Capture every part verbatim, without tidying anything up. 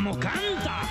como canta!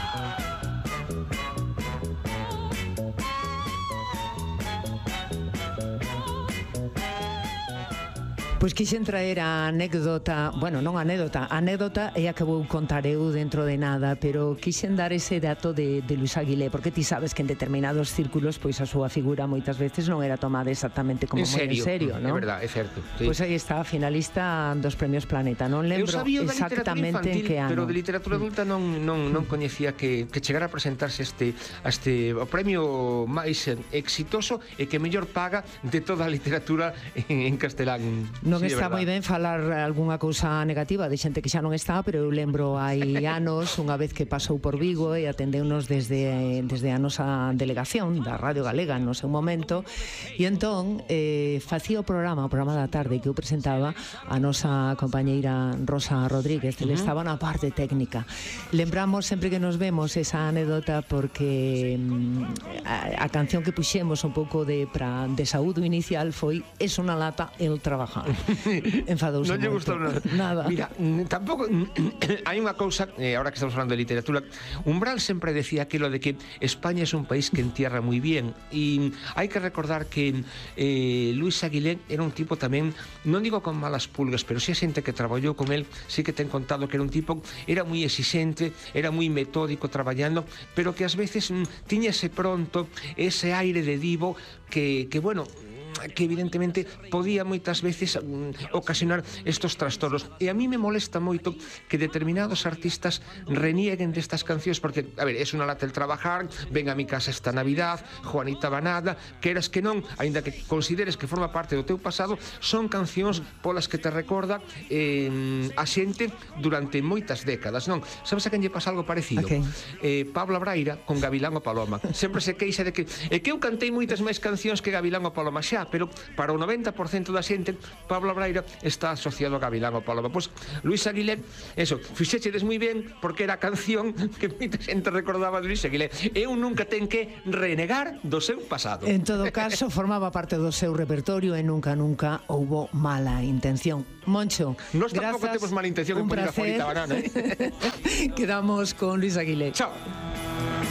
Pois quixen traer a anécdota, bueno, non a anécdota, a anécdota é a que vou contar eu dentro de nada, pero quixen dar ese dato de, de Luis Aguilé, porque ti sabes que en determinados círculos pois a súa figura moitas veces non era tomada exactamente como en moi en serio, non? É verdade, é certo. Sí. Pois aí está, finalista dos Premios Planeta, non lembro exactamente en que ano. Pero de literatura adulta non non non coñecía que que chegara a presentarse este a este o premio máis exitoso e que mellor paga de toda a literatura en, en castelán. Non sí, está moi ben falar algunha cousa negativa de xente que xa non está, pero eu lembro hai anos, unha vez que pasou por Vigo e atendeunos desde, desde a nosa delegación da Radio Galega no seu momento, e entón eh, facía o programa, o programa da tarde que eu presentaba a nosa compañeira Rosa Rodríguez, ele uh -huh. estaba na parte técnica. Lembramos sempre que nos vemos esa anécdota porque mm, a, a canción que puxemos un pouco de, pra, de saúdo inicial foi Es unha lata el trabajar. Enfadouse non lle moito. gustou nada. nada. Mira, tampouco hai unha cousa, eh, ahora que estamos falando de literatura, Umbral sempre decía aquilo de que España es un país que entierra moi bien, e hai que recordar que eh, Luis Aguilé era un tipo tamén, non digo con malas pulgas, pero si a xente que traballou con él sí que ten contado que era un tipo, era moi exixente, era moi metódico traballando, pero que ás veces mm, tiña ese pronto, ese aire de divo que, que bueno, que evidentemente podía moitas veces um, ocasionar estos trastornos, e a mí me molesta moito que determinados artistas renieguen destas cancións, porque, a ver, es unha lata el trabajar, ven a mi casa esta Navidad, Juanita Banada, queras que non, aínda que consideres que forma parte do teu pasado, son cancións polas que te recorda eh, a xente durante moitas décadas, non? Sabes a quen lle pasa algo parecido? Okay. Eh, Pablo Braira con Gavilán o Paloma. Sempre se queixa de que é que eu cantei moitas máis cancións que Gavilán o Paloma, xa, pero para o noventa por cento da xente Pablo Braira está asociado a Gavilán o Paloma. Pois Luis Aguilé, eso, fixéchedes moi ben porque era a canción que moita xente recordaba de Luis Aguilé. Eu nunca ten que renegar do seu pasado. En todo caso, formaba parte do seu repertorio e nunca, nunca houbo mala intención. Moncho, Nos tampouco grazas, temos mala intención en un poner a placer. Juanita Banana, eh? Quedamos con Luis Aguilé. Chao.